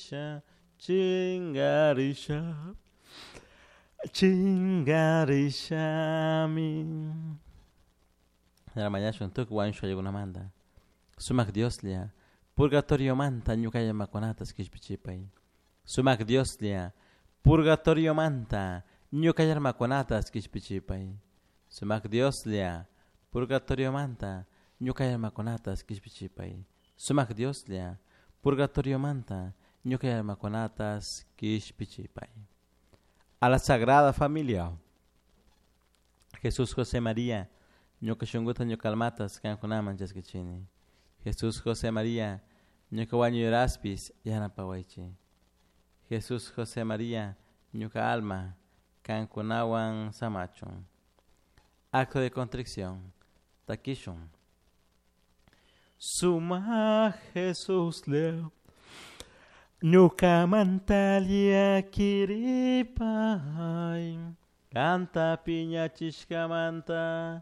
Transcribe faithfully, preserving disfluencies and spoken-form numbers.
Chingarisha, chingarisha, chingarishami. Mañashun tukuy wañushka ayllunamanta. Sumak Dioslla, purgatoriomanta ñuka almakunata kishpichipay. Sumak Dioslla, purgatoriomanta ñuka almakunata kishpichipay. Sumak Dioslla, purgatoriomanta ñuka almakunata kishpichipay. Sumak Dioslla, purgatoriomanta ñuka almakunata kishpichipay. A la Sagrada Familia. Jesús José María, ñuka shunkuta ñuka almata kankunaman chaskichini. Jesús José María, ñuka wañuyraspis yanapawaychik. Jesús José María, ñuka alma kankunawan samachun. Acto de contrición. Takishun. Suma Jesús leo. Ñukamanta llakiripay. Kanta piñachishkamanta.